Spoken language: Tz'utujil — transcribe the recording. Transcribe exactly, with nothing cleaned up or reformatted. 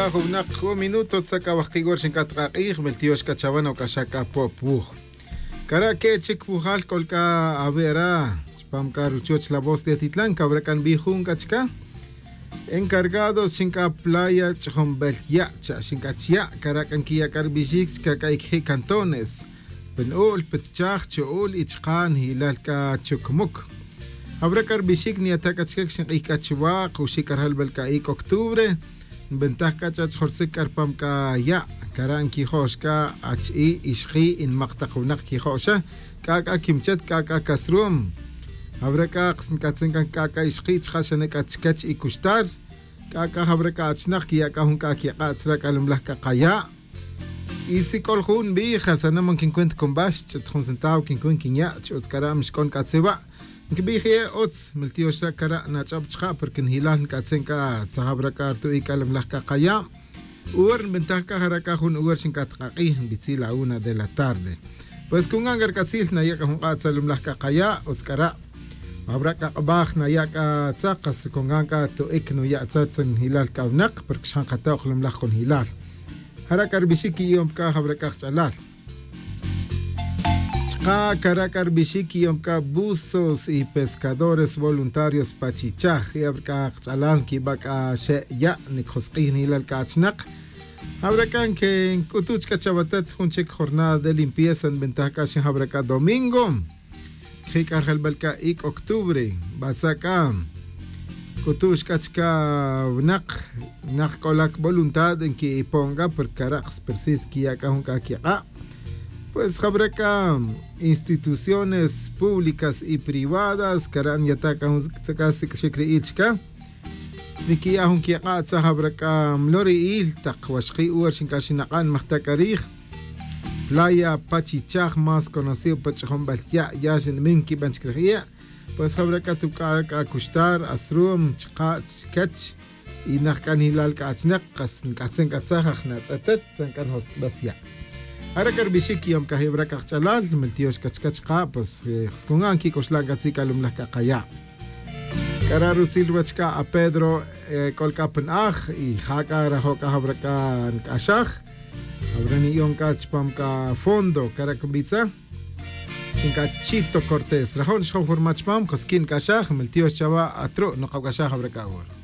Jun winak jun minuto tzak awajki' wor xink'at k'a k'ij miltiyox k'a chawan awk'axaj k'a pop wuj. Kara' ke' chik wujal k'ol k'a awe'ra chupam k'a ruchoch la voz de atitlan kawra' k'a nbij jun k'a chika. Encargados xink'a playa ch'ijom bel ya' cha' xink'a chiya' kara' k'a nkiya' k'a rbixic chika k'a ikji' cantones, pin u'l pitchaj chu'ul y chaka' njilal k'a chukmuk. Jawra' k'a rbixic nyata' k'a chike xink'ij k'a chuwa' kuxi' k'a rjalbel k'a ic' octubre. Nbentaj k'a ch'ach' jorsic k'a rpam k'a ya' kara' nkijo'x k'a achi'i' ixji' y nmak tak winak kijo'xa. K'a k'a kimchet k'a k'a casrum. Jawra' k'a kas nk'atzin k'a k'a k'a ixji' chaka' xane' k'a chikech y cuxtar. K'a k'a jawra' k'a achnak kiya' k'a jun k'a kik'a' tzra' k'a lumlaj k'a kaya'. Y si k'ol jun nbij jasana' man kincuent cunbax ch'it jun centavo kincuent kinya' ch'utz k'ara' mixk'on k'a tzewa'. Nkibij ye' utz miltiyox ra' kara' nach'ob chaka' porque njilal nk'atzin k'a tzajab ra' k'a rtu'i' k'a lumlaj k'a kaya'. Uwer nbentaj k'a jara' k'a jun uwer xink'at k'a k'ij nbitzil la una de la tarde. Pues cungan k'a rk'atzil naya' k'a jun k'a' tzalumlaj k'a kaya' utz k'ara'. Jawra' k'a k'abaj naya' k'a tzak kas cungan k'a tu'ic nuya' tzak tzanjilal k'a winak porque xjan kato'k lumlaj jun jilal. Jara' k'a rbixic qui'iyom c'a jawra' k'a kach'alal. Chaka' cara' c'a rbixic qui'iyom c'a buzos y pescadores voluntarios pa chichaj y abra c'a kach'alal nquiba' c'a xe' ya' nicojosk'ij nilal c'a achnak. Jawra' c'a nc'utuch c'a chawatet jun chic jornada de limpieza nbentaj c'a xin jawra' c'a domingo. Cji' c'a rjelbel c'a ic' octubre. Batza' c'a c'utu'x c'a chica winak nak c'olac voluntad nqui'ipon c'a porque cara' kas precis quiya' c'a jun c'a quik'a'. Pues jawra' c'a instituciones públicas y privadas cara' nyata' c'a jun c'a sic'axic ri'il chica. Sniquiya' jun quik'a' tzaj jawra' c'a mlori'il tak waxki' uwa xinc'a xinak'an majta' c'a rij. Playa pachichaj más conocido pa ch'ijunbel ya' ya xinbin quiban chic rij ya'. Pues jawra' c'a tuc'a' c'a cuxtar asrum chaka' chquech. Y najc'anilal c'a achnak kas nc'atzin c'a tzaj aj natz'etet tzan c'a njosc'bes ya'. Jara' c'a rbixic quiyom c'a jibra' c'a kach'alal miltiyox c'a chica chaka' pues. Scungan quic'uxlan c'a tzic'alumlaj c'a kaya'. C'a ra' rutzil ruwech c'a a pedro c'ol c'a pa na'aj y ja c'a rajo' c'a jawra' c'a nc'axaj. Jawra' ni'yon c'a chupam c'a fondo cara' cubitza. Chin c'a chito cortés rajo' nixjon jurma chupam jasquin nc'axaj miltiyox chawa' atru' nokabc'axaj jawra' c'a hora.